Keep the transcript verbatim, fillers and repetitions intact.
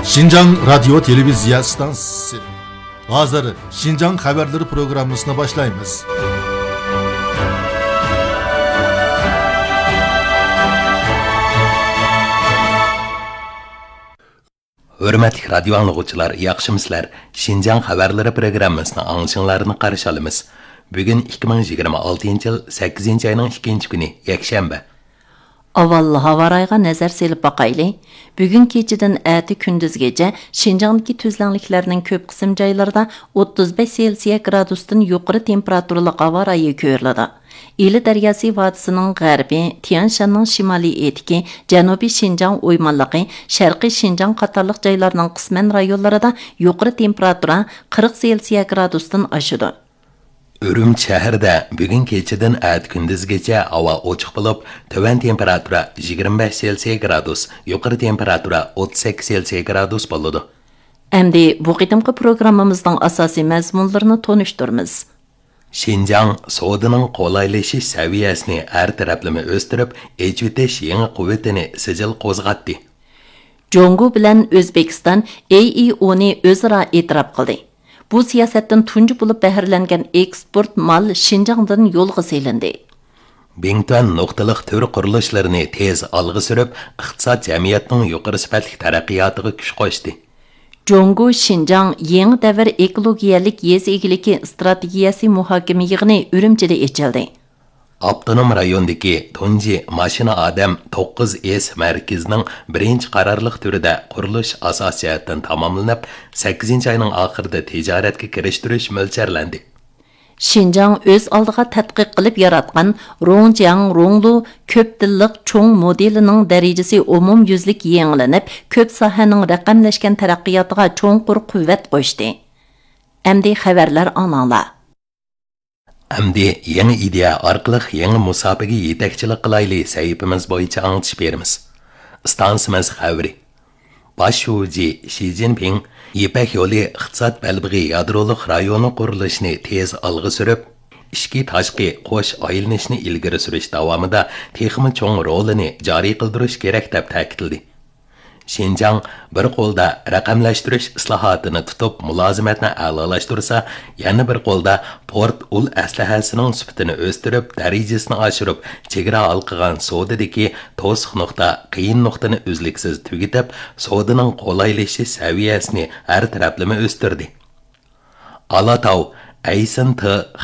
شىنجاڭ رادىيو تېلېۋىزىيە ئىستانسىسى. ھازىر شىنجاڭ خەۋەرلىرى پروگراممىسىنى باشلايمىز. ھۆرمەتلىك رادىيو ئاڭلىغۇچىلار، ياخشىمۇسىلەر؟ شىنجاڭ خەۋەرلىرى پروگراممىسىنىڭ ئاڭلىشىڭلارنى قارشى ئالىمىز. بۈگۈن ئىككى مىڭ يىگىرمە ئالتىنچى يىل سەككىزىنچى ئاينىڭ ئىككىنچى كۈنى، يەكشەنبە. ئاۋۋال ھاۋا رايىغا نەزەر سېلىپ باقايلى. بۈگۈن كېچىدىن ئەتە كۈندۈزگىچە شىنجاڭدىكى تۈزلەڭلىكلەرنىڭ كۆپ قىسىم جايلىرىدا ئوتتۇز بەش سېلسىيە گرادۇستىن يۇقىرى تېمپېراتۇرىلىق ھاۋا رايى كۆرۈلىدۇ. ئىلى دەرياسى ۋادىسىنىڭ غەربى، تيەنشاننىڭ شىمالىي ئېتىكى، جەنۇبىي شىنجاڭ ئويمانلىقى، شەرقىي شىنجاڭ قاتارلىق جايلارنىڭ قىسمەن رايونلىرىدا يۇقىرى تېمپېراتۇرا قىرىق سېلسىيە گرادۇستىن ئاشىدۇ. ئۈرۈمچى شەھىرىدە بۈگۈن كېچىدىن ئەتە كۈندۈزگىچە ھاۋا ئوچۇق بولۇپ، تۆۋەن تېمپېراتۇرا يىگىرمە بەش سېلسىيە گرادۇس، يۇقىرى تېمپېراتۇرا ئوتتۇز سەككىز سېلسىيە گرادۇس بولىدۇ. ئەمدى بۇ قېتىمقى پروگراممىمىزنىڭ ئاساسىي مەزمۇنلىرىنى تونۇشتۇرىمىز. شىنجاڭ سودىنىڭ قولايلىشىش سەۋىيەسىنى ھەر تەرەپلىمە ئۆستۈرۈپ، ئېچىۋېتىش يېڭى قۇۋۋىتىنى سىجىل قوزغاتتى. جۇڭگو بىلەن ئۆزبېكىستان ئېيئىئونى ئۆزئارا ئېتىراپ قىلدى. بۇ سىياسەتتىن تۇنجى بولۇپ بەھرىلەنگەن ئېكسپورت مال شىنجاڭدىن يولغا سېلىندى. بىڭتۈەن نۇقتىلىق تۈر قۇرۇلۇشلىرىنى تېز ئالغا سۈرۈپ، ئىقتىساد، جەمئىيەتنىڭ يۇقىرى سۈپەتلىك تەرەققىياتىغا كۈچ قوشتى. جۇڭگو شىنجاڭ يېڭى دەۋر ئېكولوگىيەلىك يېزا ئىگىلىكى ئىستراتېگىيەسى مۇھاكىمە يىغىنى ئۈرۈمچىدە ئېچىلدى. ئاپتونوم رايوندىكى تۇنجى ماشىنا ئادەم توققۇز ئېس مەركىزىنىڭ بىرىنچى قارارلىق تۈرىدە قۇرۇلۇش ئاساسىي جەھەتتىن تاماملىنىپ، سەككىزىنچى ئاينىڭ ئاخىرىدا تىجارەتكە كىرىشتۈرۈش مۆلچەرلەندى. شىنجاڭ ئۆز ئالدىغا تەتقىق قىلىپ ياراتقان روڭجياڭ روڭلۇ كۆپ تىللىق چوڭ مودېلىنىڭ دەرىجىسى ئومۇميۈزلۈك يېڭىلىنىپ، كۆپ ساھەنىڭ رەقەملەشكەن تەرەققىياتىغا چوڭقۇر قۇۋۋەت قوشتى. ئەمدى خەۋەرلەر ئاڭلاڭلار. ئەمدى يېڭى ئىدىيە ئارقىلىق يېڭى مۇساپىگە يېتەكچىلىك قىلايلى سەھىپىمىز بويىچە ئاڭلىتىش بېرىمىز. ئىستانسىمىز خەۋىرى. باش شۇجى شى جىنپىڭ يىپەك يولى ئىقتىساد بەلبېغى يادرولۇق رايونى قۇرۇلۇشىنى تېز ئالغا سۈرۈپ، ئىچكى تاشقى قوش ئايلىنىشنى ئىلگىرى سۈرۈش داۋامىدا تېخىمۇ چوڭ رولىنى جارى قىلدۇرۇش كېرەك، دەپ تەكىتلىدى. شىنجاڭ بىر قولدا رەقەملەشتۈرۈش ئىسلاھاتىنى تۇتۇپ، مۇلازىمەتنى ئەلالاشتۇرسا، يەنە بىر قولدا پورت ئۇل ئەسلىھەسىنىڭ سۈپىتىنى ئۆستۈرۈپ، دەرىجىسىنى ئاشۇرۇپ، چېگرا ھالقىغان سودىدىكى توسۇق نۇقتا، قىيىن نۇقتىنى ئۈزلۈكسىز تۈگىتىپ، سودىنىڭ قولايلىشىش سەۋىيەسىنى ھەر تەرەپلىمە ئۆستۈردى. ئالاتاۋ، ئەيسىن تى